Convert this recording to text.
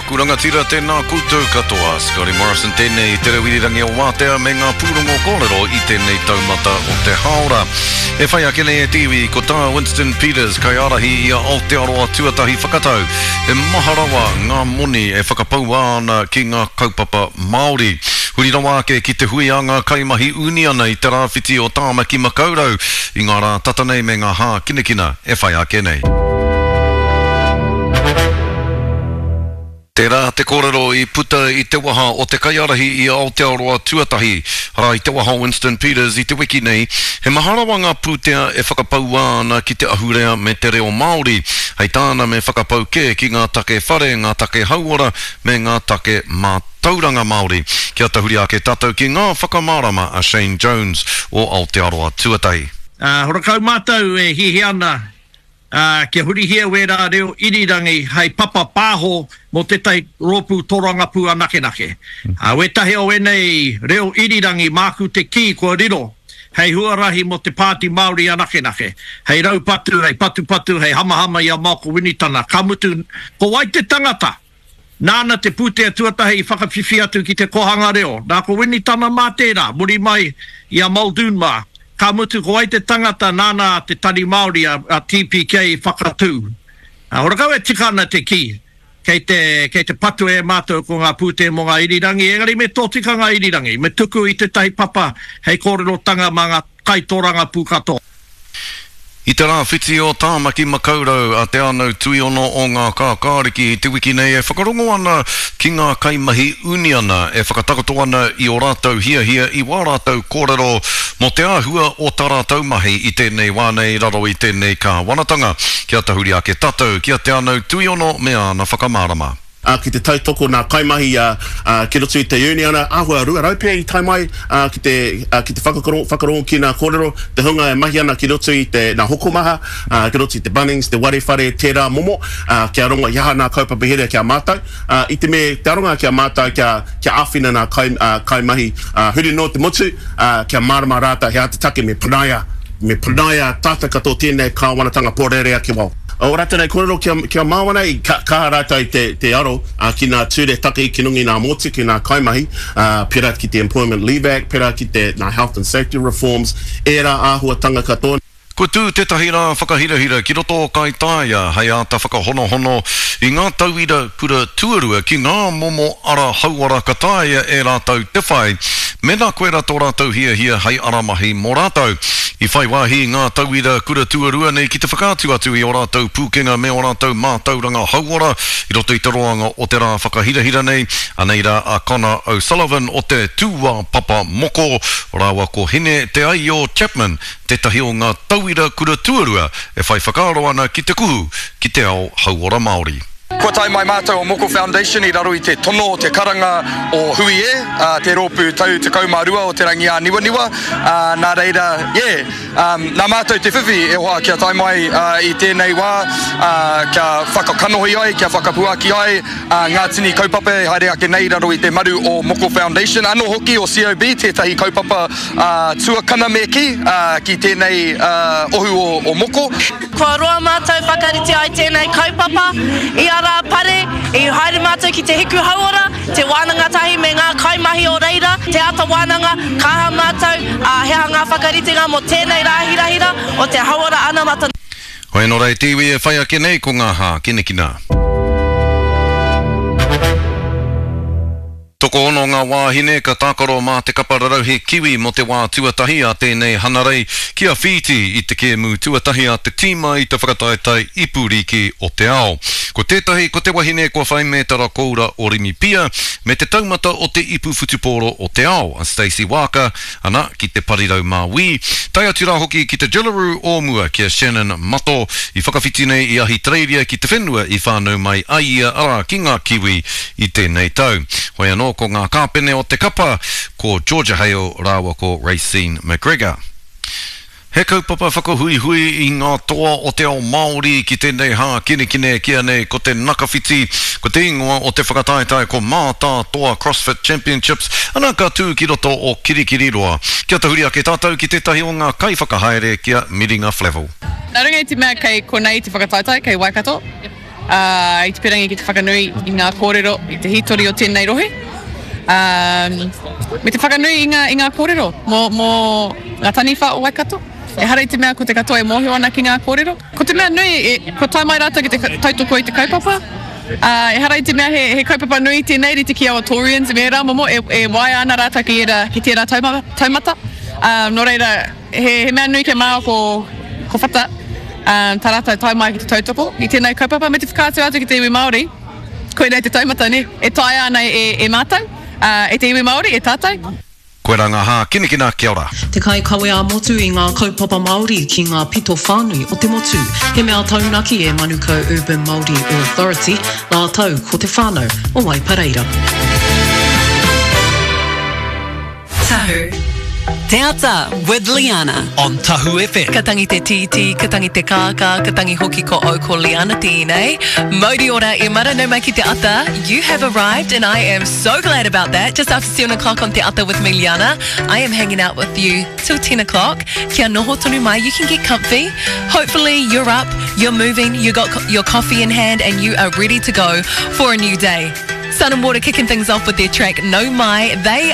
aku rangatira, tēnā koutou katoa. Scotty Morrison tēnei i te reo irirangi o Wātea me ngā pūrongo kōrero i tēnei taumata o te hāora. E whai ake nei e te iwi, ko tā Winston Peters, kaiārahi i a Aotearoa Tuatahi whakatau, he maha rawa ngā moni e whakapaua ana ki ngā kaupapa Māori. Huri rawa ake ki te hui a ngā kaimahi uniana i te rāwhiti o Tāmaki Makaurau i ngā rā tata nei me ngā hākinakina e whai ake nei. Tērā te kōrero i puta i te waha o te kaiārahi i Aotearoa Tuatahi, arā i te waha o Winston Peters i te wiki nei, he maha rawa ngā pūtea e whakapaua ana ki te ahurea me te reo Māori. Hei tāna me whakapau kē ki ngā take whare, ngā take hauora me ngā take mātauranga Māori. Kia tahuri ake tātou ki ngā whakamārama a Shane Jones o Aotearoa Tuatahi. Ā, horakau mātou e hiahia ana ā, kia hurihia wērā reo irirangi hei papa pāho mō tētahi rōpū tōrangapū anakenake. Ā, wētahi o ēnei reo irirangi māku te kī kua riro hei huarahi mō te Pāti Māori anakenake, hei raupatu, hei patupatu, hei hamahama i a Malcolm Winitana, ka mutu, ko wai te tangata? Nāna te pūtea tuatahi i whakawhiwhi atu ki te kōhanga reo. Nā ko Winitana mā tērā, muri mai i a Muldoon mā. Ka mutu ko wai te tangata nāna te Tari Māori a TPK i whakatū. Horakau e tika ana te kī, kei te, kei te patua e mātou ko ngā pūtea mō ngā irirangi, engari me tōtika ngā irirangi, me tuku i tētahi papa hei kōrerotanga mā ngā kaitōrangapū katoa. I te rāwhiti o Tāmaki Makaurau a Te Anau Tuiono o Ngā Kākāriki i te wiki nei e whakarongo ana ki ngā kaimahi uniana e whakatakoto ana i ō rātou hiahia i wā rātou kōrero mō te āhua o tā rātou mahi i tēnei wā nei raro i tēnei kāwanatanga. Kia tahuri ake tātou ki a Te Anau Tuiono me āna whakamārama. ā, ki te tautoko nā kaimahi, ā, ā, ki roto i te uniana, āhua 200 pea i tae mai, ā, ki te, ā, ki te whakakoro, whakarongo ki nā kōrero, te hunga e mahi ana ki roto i te, nā hokomaha, ā, ki roto i te Bunnings, te ware whare, tērā momo, ā, kia rongo i aha nā kaupapa here ki a mātou, ā, i te me, te aronga ki a mātou kia, kia āwhina nā kai, ā, kaimahi, ā, huri noa te motu, ā, kia mārama rātou he aha te take me panaia, me panaia tātou katoa tēnei kāwanatanga pōrearea ki waho. Ō rātou nei kōrero kia, kia māo ana, i ka, kaha rātou te, te aro ā, ki nā ture take ki runga i nā motu, ki nā kaimahi, ā, pērā ki te Employment Leave Act, pērā ki te, nā Health and Safety Reforms, ērā āhuatanga katoa. Kua tū tētahi rā whakahirahira ki roto o Kaitaia hei āta whakahonohono i ngā tauira kura tuarua ki ngā momo ara hauora ka taea e rātou te whai mēnā koirā tō rātou hiahia hei ara mahi mō rātou. I whai wāhi ngā tauira kura tuarua nei ki te whakaatu atu i ō rātou pūkenga me ō rātou mātauranga hauora i roto i te roanga o te rā whakahirahira nei. Anei rā a Connor O'Sullivan o te Tūāpapa Moko rāua ko Hine Te Aio Chapman tētahi o ngā tauira kura tuarua e whai whakaaro ana ki te kuhu ki te ao hauora Māori. Kua tae mai mātou o Moko Foundation i raro i te tono o te karanga o Hui E, te rōpū tau 12 o Te Rangiāniwaniwa, nā reira, yeah, nā mātou te whiwhi e hoa kia tae mai i tēnei wā, kia whakakanohi ai, kia whakapuaki ai ngā tini kaupapa e haere ake nei i raro i te maru o Moko Foundation, anō hoki o COB, tētahi kaupapa tuakana me kī, ki tēnei ohu o Moko. Kua roa mātou whakarite ai tēnei kaupapa. I a Rāpare, i haere mātou ki te Hiku Hauora, te wānanga tahi me ngā kaimahi o reira, te ata wānanga, ka aha mātou, ā, he aha ngā whakaritenga mō tēnei rā hirahira o te hauora anamata. Hoi anō rā e te iwi e whai ake nei ko ngā hākinakina. Tokoono ngā wāhine ka tākaro mā te kapa rarauhe Kiwi mō te wā tuatahi a tēnei hanarei ki a Whītī i te kēmu tuatahi a te tīma i te whakataetae Ipu Rīki o te Ao. Ko tētahi ko te wahine kua whai mētara koura o Rimipia me te taumata o te Ipu Whutupōro o te Ao, a Stacey Waaka, ana, ki te parirau māui, tae atu rā hoki ki te Jillaroo o mua ki a Shannon Mato, i whakawhiti nei i Ahitereiria ki te whenua i whānau mai ai ia, arā, ki ngā Kiwi i tēnei tau. Hoi anō ko ngā kāpene o te kapa, ko Georgia Hale rāua ko Raecene McGregor. He kaupapa whakahuihui i ngā toa o te ao Māori ki tēnei hākinakina e kīia nei ko te Nakawhiti. Ko te ingoa o te whakataetae ko Mātātoa CrossFit Championships, ana ka tū ki roto o Kirikiriroa. Kia tahuri ake tātou ki tētahi o ngā kaiwhakahaere ki a Miringa Flavell. Nā runga i te mea kei konei te whakataetae, kei Waikato. ā, i te pirangi ki te whakanui i ngā kōrero, i te hītori o tēnei rohe, ā, me te whakanui i ngā, i ngā kōrero mō, mō ngā taniwha o Waikato. Ehara i te mea ko te katoa e mōhio ana ki ngā kōrero. Ko te mea nui, e, kua tae mai rātou ki te tautoko i te kaupapa, ā, ehara i te mea he, he kaupapa nui tēnei rite ki aua Taurians me ērā momo, e, e waea ana rātou ki ērā, ki tērā taumata, taumata. Ā, nō reira, he, he mea nui kia māua ko, ko Whata, ā, tā rātou tae mai ki te tautoko i tēnei kaupapa me te whakaatu atu ki te iwi Māori, koinei te taumata, nē, e taea ana e, e mātou, ā, e te iwi Māori, e tātou. Koirā ngā hākinakina, kia ora. Te kaikawe ā-motu i ngā kaupapa Māori ki ngā pito whānui o te motu. He mea taunaki e Manukau Urban Māori Authority rātou ko te whānau o Waipareira. Tahu. Te Ata with Liana. On Tahu FM. Ka tangi te tītī, ka tangi te kākā, ka tangi hoki ko au ko Liana tēnei. Mauri ora e mara nau mai ki te ata. You have arrived and I am so glad about that. Just after 7 o'clock on Te Ata with me Liana. I am hanging out with you till 10 o'clock. Kia noho tonu mai, you can get comfy. Hopefully you're up, you're moving, you got your coffee in hand and you are ready to go for a new day. Sun and Water kicking things off with their track No Mai. They